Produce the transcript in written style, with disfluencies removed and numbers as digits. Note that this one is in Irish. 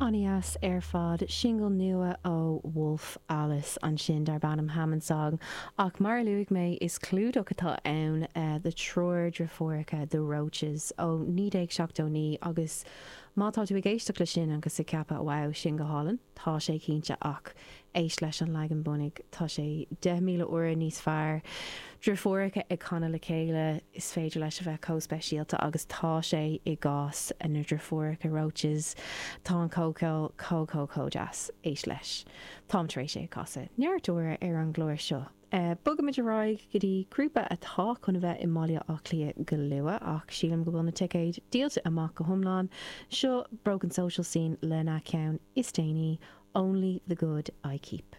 An-deas ar fad. Singil nua ó Wolf Alice ansin darb ainm Hammond Song. Ach mar a luaigh mé, is clúdach atá ann do triúr driofúracha The Roches ó 1979 agus má tá tú ag éisteacht le sin agus ag ceapadh wow, sin go hálainn, tá sé cinnte ach éist leis an leagan bunaidh, tá sé 10,000 uaire níos fearr. Driofúracha ag canadh le chéile, is féidir leis a bheith chomh speisialta agus tá sé i gcás na driofúracha Roches. Tá an comhcheol chomh chomh chomh deas. Éist leis. Táim tar éis é a chasadh neart uaire ar an gclár seo. Bogaimid ar aghaidh go dtí grúpa atá chun a bheith i mBaile Átha Cliath go luath ach sílim go bhfuil na ticéid díolta amach go hiomlán. Seo Broken Social Scene lena ceann is déanaí, Only the Good I Keep.